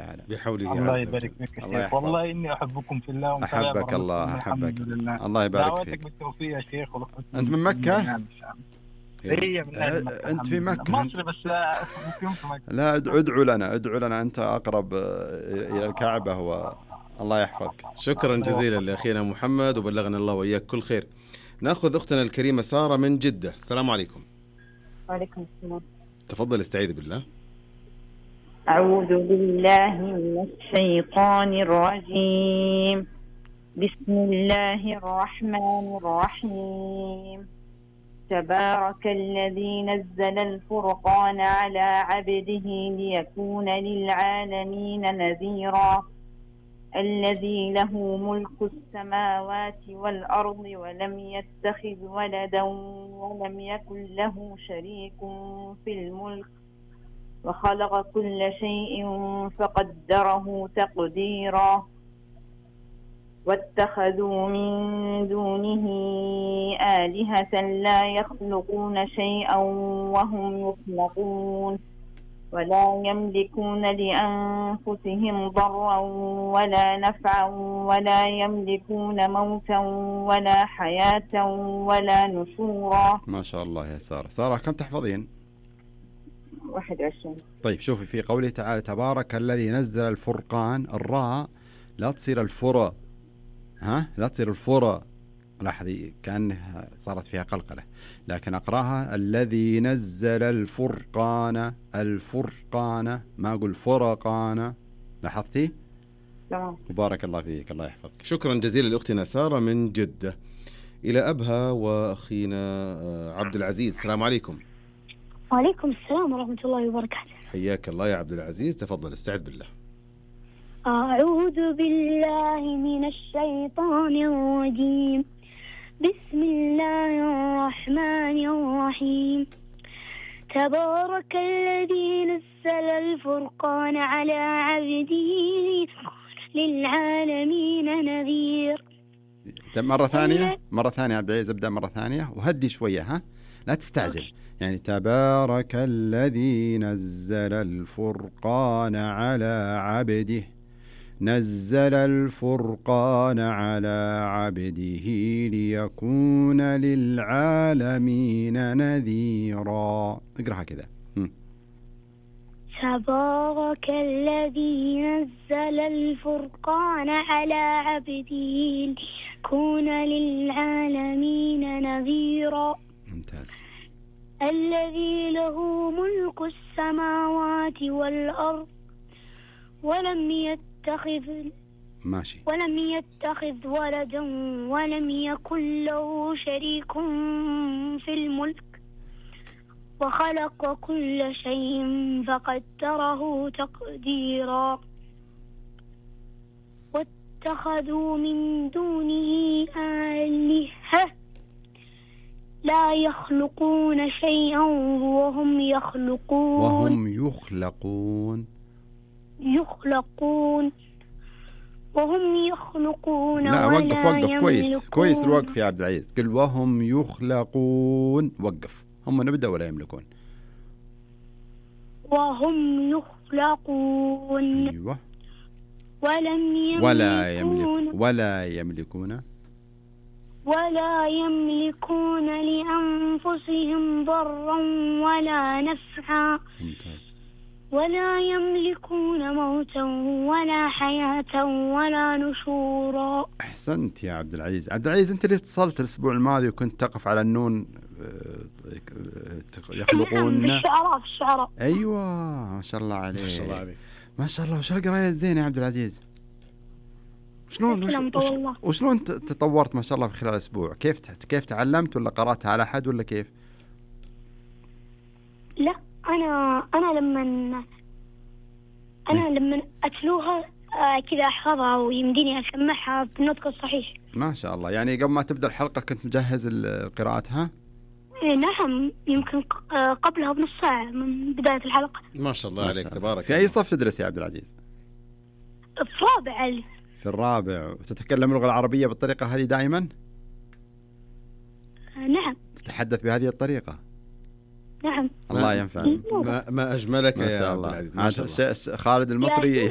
تعالى. بحوله الله عز يبارك وجل. فيك يا الله شيخ، يحفظك. والله إني أحبكم في الله أحبك الله، أحبك. الحمد لله. الله يبارك دعواتك فيك. بالتوفيق يا شيخ. أنت من مكة؟ هي من أهل مكة. أنت في مكة؟ مصر بس مقيم في مكة. لا ادعو لنا أنت أقرب إلى الكعبة الله يحفظك. شكرا جزيلا لأخينا محمد، وبلغنا الله وإياك كل خير. نأخذ أختنا الكريمة سارة من جدة. السلام عليكم. وعليكم السلام. تفضل استعيذ بالله. أعوذ بالله من الشيطان الرجيم. بسم الله الرحمن الرحيم. تبارك الذي نزل الفرقان على عبده ليكون للعالمين نذيرا. الذي له ملك السماوات والأرض ولم يتخذ ولدا ولم يكن له شريك في الملك وخلق كل شيء فقدره تقديرا. واتخذوا من دونه آلهة لا يخلقون شيئا وهم يخلقون ولا يملكون لأنفسهم ضرا ولا نفعا ولا يملكون موتا ولا حياة ولا نشورا. ما شاء الله يا سارة كم تحفظين؟ 21. طيب شوفي في قوله تعالى تبارك الذي نزل الفرقان، الراء لا تصير الفرا، لا تصير الفرا، لاحظي كأنها صارت فيها قلقلة، لكن أقراها الذي نزل الفرقان، ما أقول فرقان، لاحظتي؟ تمام. بارك الله فيك، الله يحفظك. شكرا جزيلا لأختنا سارة من جدة. إلى أبها وأخينا عبد العزيز. السلام عليكم. وعليكم السلام ورحمة الله وبركاته. حياك الله يا عبد العزيز، تفضل استعذ بالله. أعوذ بالله من الشيطان الرجيم. بسم الله الرحمن الرحيم. تبارك الذي نزل الفرقان على عبده للعالمين نذير. مرة ثانية عبد العزيز، ابدأ مرة ثانية وهدي شوية، لا تستعجل. يعني تبارك الذي نزل الفرقان على عبده، نزل الفرقان على عبده ليكون للعالمين نذيرا. اقرأها كذا. تبارك الذي نزل الفرقان على عبده ليكون للعالمين نذيرا. ممتاز. الذي له ملك السماوات والأرض ولم يتخذ ولدا ولم يكن له شريك في الملك وخلق كل شيء فقدره تقديرا. واتخذوا من دونه آلهة لا يخلقون شيئا وهم يخلقون لا وقف كويس الوقف يا عبد العزيز. قل وهم يخلقون، وقف. هم نبدأ ولا يملكون؟ وهم يخلقون. أيوة. ولا يملكون لأنفسهم ضرا ولا نفعا. ممتاز. ولا يملكون موتا ولا حياة ولا نشورا. أحسنت يا عبد العزيز. عبد العزيز أنت اللي اتصلت الأسبوع الماضي وكنت تقف على النون يخلقون. في الشعراء. أيوة ما شاء الله عليك. ما شاء الله. وش القراية الزينة يا عبد العزيز؟ وشلون تطورت ما شاء الله في خلال أسبوع؟ كيف تعلمت، ولا قرأتها على أحد، ولا كيف؟ لا أنا لما أتلوها كذا أحفظها ويمديني أسمعها بالنطق الصحيح. ما شاء الله. يعني قبل ما تبدأ الحلقة كنت مجهز قراءتها؟ نعم، يمكن قبلها بنص ساعة من بداية الحلقة. ما شاء الله عليك، تبارك. في أي صف تدرس يا عبد العزيز؟ في رابع. في الرابع. وتتكلم اللغة العربية بالطريقة هذه دائما؟ نعم. تتحدث بهذه الطريقة؟ نعم. الله ينفع. ما أجملك يا عبد العزيز. خالد المصري